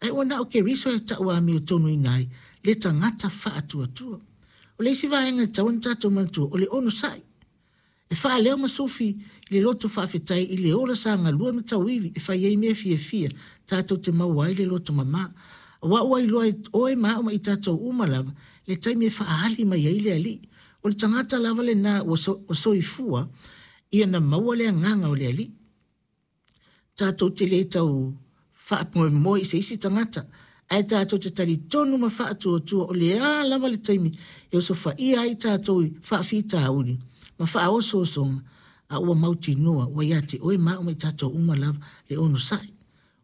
Ae ua na o Keriso e tauamiotonuina ai le tagata faatuatua. O le isi vaega e tatau ona tatou manatua, o le onosai. E faaleo ma sufi i le loto faafetai i le ola sa galue ma tauivi e fai ai mea fiafia tatou te maua ai le loto mama. Aua ua iloa e oe ma au ma i tatou uma lava le taimi e faaali mai ai le Alii. O le tagata lava lena ua soifua ia na maua le agaga o le Alii. Tatou te le tau faamoemoe i se isi tagata, ae tatou te talitonu ma faatuatua o le a lava le taimi e osofaia ai tatou i faafitauli ma faaosoosoga, a ua mautinoa ua ia te oe ma au ma i tatou uma lava le onosai.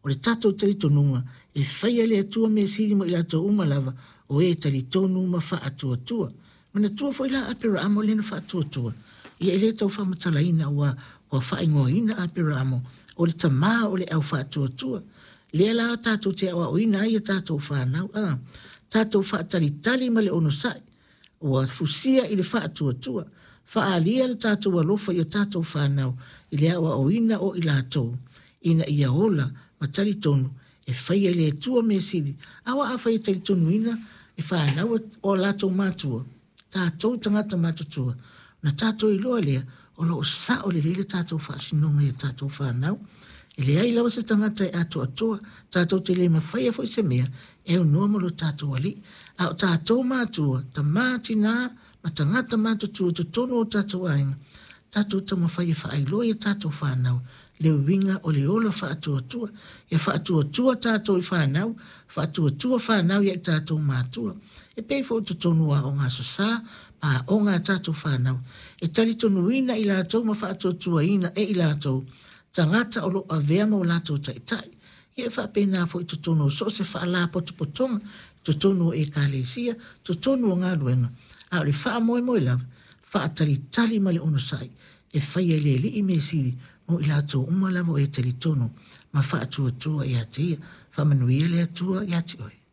O le tatou talitonuga, e faia e le Atua mea sili mo i latou uma lava o e talitonu ma faatuatua. Manatua foi la Aperaamo lea na faatuatua. Ia e le tau faamatalaina ua ua faaigoaina Aperaamo o le tama o le au faatuatua. Lea la tatou te aoaoina ai a tatou fanau, a tatou faatalitali ma le onosai, ua fusia i le faatuatua. Faaalia lo tatou alofa i a tatou fanau i le aoaoina o i latou ina ia ola ma talitonu e faia e le Atua mea sili, aua afai e talitonuina e fanau o latou matua, tatou tagata matutua, ona tatou iloa lea o lo o sao lelei le tatou faasinoga i a tatou fanau. E leai lava se tagata e atoatoa, tatou te le mafaia foi se mea e aunoa ma lo tatou Alii. A o tatou matua, tama, tina ma tagata matutua i totonu o tatou aiga, tatou taumafai e faailoa i a tatou fanau le uiga o le ola faatuatua. Ia faatuatua tatou i fanau, faatuatua fanau ia i tatou matua. E pei foi o totonu o aoga Aso Sa ma aoga a tatou fanau, e talitonuina i latou ma faatuatuaina e i latou tagata o lo o avea ma o latou taitai. Ia e faapena foi i totonu o so o se faalapotopotoga, totonu o ekalesia, totonu o galuega, a o le faamoemoe lava, faatalitali ma le onosai e faia e le Alii mea sili mo i latou uma lava o e talitonu ma faatuatua ia te Ia. Faamanuia le Atua ia te oe.